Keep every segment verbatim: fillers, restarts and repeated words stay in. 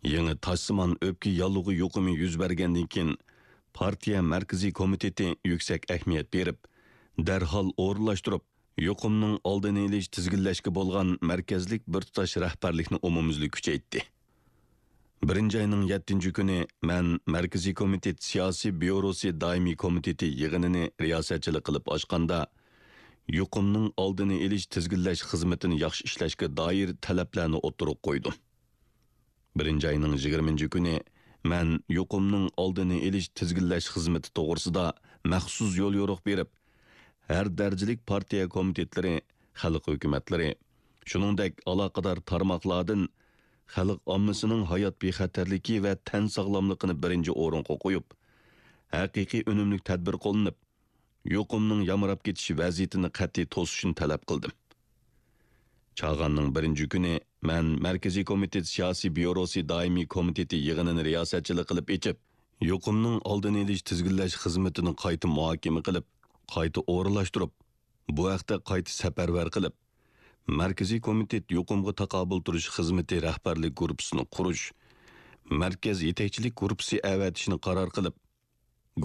يېڭى تاشسىمان ئۆپكە ياللۇغى يۇقۇمى يۈز بەرگەندىن كېيىن، پارتىيە مەركىزىي كومىتېتى يۈكسەك ئەھمىيەت بېرىپ، دەرھال ئورۇنلاشتۇرۇپ، يۇقۇمنىڭ ئالدىنى ئېلىش، تىزگىنلەشكە بولغان مەركەزلىك بىر تۇتاش رەھبەرلىكنى ئومۇميۈزلۈك كۈچەيتتى. بىرىنچى ئاينىڭ يەتتىنچى كۈنى مەن مەركىزىي كومىتېت سىياسىي بيۇروسى دائىمىي كومىتېتى يىغىنىنى رىياسەتچىلىك قىلىپ ئاچقاندا، يۇقۇمنىڭ ئالدىنى ئېلىش، تىزگىنلەش خىزمىتىنى ياخشى ئىشلەشكە دائىر تەلەپلەرنى ئوتتۇرىغا قويدۇم. بىرىنچى ئاينىڭ يىگىرمىنچى كۈنى مەن يۇقۇمنىڭ ئالدىنى ئېلىش، تىزگىنلەش خىزمىتى توغرىسىدا مەخسۇس يوليورۇق بېرىپ، ھەر دەرىجىلىك پارتىيە كومىتېتلىرى، خەلق ھۆكۈمەتلىرى، شۇنىڭدەك ئالاقىدار تارماقلاردىن خەلق ئاممىسىنىڭ ھايات بىخەتەرلىكى ۋە تەن ساغلاملىقىنى بىرىنچى ئورۇنغا قويۇپ، ھەقىقىي ئۈنۈملۈك تەدبىر قوللىنىپ، يۇقۇمنىڭ يامراپ كېتىش ۋەزىيىتىنى قەتئىي توسۇشنى تەلەپ قىلدىم. چاغاننىڭ بىرىنچى كۈنى مەن مەركىزىي كومىتېت سىياسىي بيۇروسى دائىمىي كومىتېتى يىغىنىنى رىياسەتچىلىك قىلىپ ئېچىپ، يۇقۇمنىڭ ئالدىنى ئېلىش، تىزگىنلەش خىزمىتىنى قايتا مۇھاكىمە قىلىپ، قايتا ئورۇنلاشتۇرۇپ، بۇ ھەقتە قايتا سەپەرۋەر قىلىپ، مەركىزىي كومىتېت يۇقۇمغا تاقابىل تۇرۇش خىزمىتى رەھبەرلىك گۇرۇپپىسىنى قۇرۇش، مەركەز يېتەكچىلىك گۇرۇپپىسى ئەۋەتىشنى قارار قىلىپ،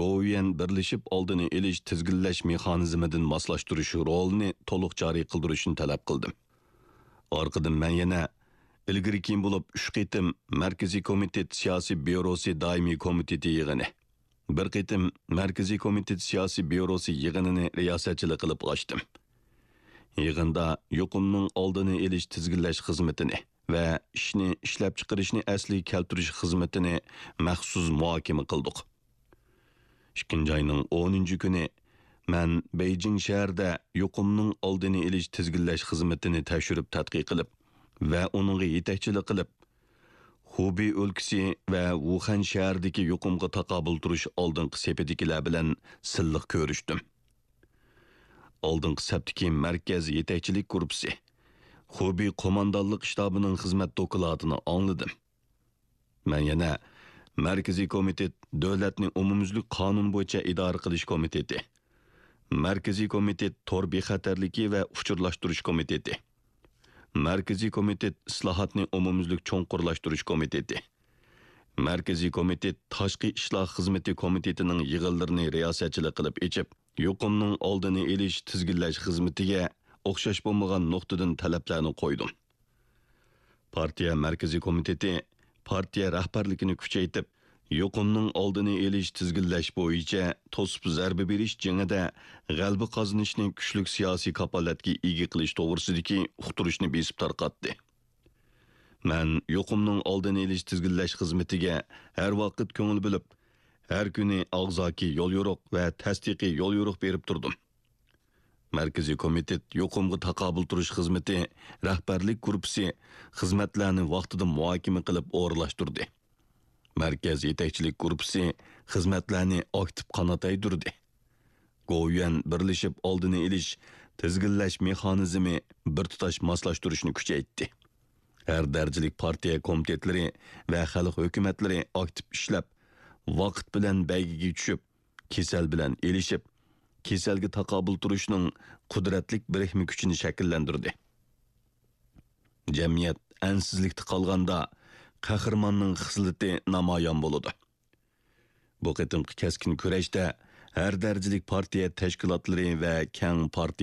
گوۋۇيۈەن بىرلىشىپ ئالدىنى ئېلىش، تىزگىنلەش مېخانىزمىدىن ماسلاشتۇرۇش رولىنى تولۇق جارى قىلدۇرۇشنى تەلەپ قىلدىم. ئارقىدىن مەن يەنە ئىلگىرى-كېيىن بولۇپ ئۈچ قېتىم مەركىزىي كومىتېت سىياسىي بيۇروسى دائىمىي كومىتېتى يىغىنى، بىر قېتىم مەركىزىي كومىتېت سىياسىي بيۇروسى يىغىنىنى رىياسەتچىلىك قىلىپ ئاچتىم. يىغىندا يۇقۇمنىڭ ئالدىنى ئېلىش، تىزگىنلەش خىزمىتىنى ۋە ئىشنى، ئىشلەپچىقىرىشنى ئەسلىگە كەلتۈرۈش خىزمىتىنى مەخسۇس مۇھاكىمە قىلدۇق. ئىككىنچى ئاينىڭ ئونىنچى كۈنى مەن بېيجىڭ شەھىرىدە يۇقۇمنىڭ ئالدىنى ئېلىش، تىزگىنلەش خىزمىتىنى تەكشۈرۈپ تەتقىق قىلىپ ۋە ئۇنىڭغا يېتەكچىلىك قىلىپ، خۇبېي ئۆلكىسى ۋە ۋۇخەن شەھىرىدىكى يۇقۇمغا تاقابىل تۇرۇش ئالدىنقى سېپىدىكىلەر بىلەن سىنلىق كۆرۈشتۈم. ئالدىنقى سەپتىكى مەركەز يېتەكچىلىك گۇرۇپپىسى، خۇبېي قوماندانلىق شتابىنىڭ خىزمەت دوكلاتىنى ئاڭلىدىم. مەن يەنە مەركىزىي كومىتېت دۆلەتنى ئومۇميۈزلۈك قانۇن بويىچە ئىدارە قىلىش كومىتېتى، مەركىزىي كومىتېت تور بىخەتەرلىكى ۋە ئۇچۇرلاشتۇرۇش كومىتېتى، مەركىزىي كومىتېت ئىسلاھاتنى ئومۇميۈزلۈك چوڭقۇرلاشتۇرۇش كومىتېتى، مەركىزىي كومىتېت تاشقى ئىشلار خىزمىتى كومىتېتىنىڭ يىغىنلىرىنى رىياسەتچىلىك قىلىپ ئېچىپ، يۇقۇمنىڭ ئالدىنى ئېلىش، تىزگىنلەش خىزمىتىگە ئوخشاش بولمىغان نۇقتىدىن تەلەپلەرنى قويدۇم. پارتىيە مەركىزىي كومىتېتى پارتىيە رەھبەرلىكىنى كۈچەيتىپ، يۇقۇمنىڭ ئالدىنى ئېلىش، تىزگىنلەش بويىچە توسۇپ زەربە بېرىش جېڭىدە غەلىبە قازىنىشنى كۈچلۈك سىياسىي كاپالەتكە ئىگە قىلىش توغرىسىدىكى ئۇقتۇرۇشنى بېسىپ تارقاتتى. مەن يۇقۇمنىڭ ئالدىنى ئېلىش، تىزگىنلەش خىزمىتىگە ھەر ۋاقىت كۆڭۈل بۆلۈپ، ھەر كۈنى ئاغزاكى يوليورۇق ۋە تەستىقىي يوليورۇق بېرىپ تۇردۇم. مەركىزىي كومىتېت يۇقۇمغا تاقابىل تۇرۇش خىزمىتى رەھبەرلىك گۇرۇپپىسى خىزمەتلەرنى ۋاقتىدا مۇھاكىمە قىلىپ ئورۇنلاشتۇردى. مەركەز يېتەكچىلىك گۇرۇپپىسى خىزمەتلەرنى ئاكتىپ قانات يايدۇردى. گوۋۇيۈەن بىرلىشىپ ئالدىنى ئېلىش، تىزگىنلەش مېخانىزمى بىر تۇتاش ماسلاشتۇرۇشنى كۈچەيتتى. ھەر دەرىجىلىك پارتىيە كومىتېتلىرى ۋە خەلق ھۆكۈمەتلىرى ئاكتىپ ئىشلەپ، ۋاقىت بىلەن بەيگىگە چۈشۈپ، كېسەل بىلەن ئېلىشىپ، كېسەلگە تاقابىل تۇرۇشنىڭ قۇدرەتلىك بىرىكمە كۈچىنى شەكىللەندۈردى. جەمئىيەت ئەنسىزلىكتە قالغاندا، قەھرىماننىڭ خىسلىتى نامايان بولىدۇ. بۇ قېتىمقى كەسكىن كۈرەشتە ھەر دەرىجىلىك پارتىيە تەشكىلاتلىرى ۋە كەڭ پارتىيە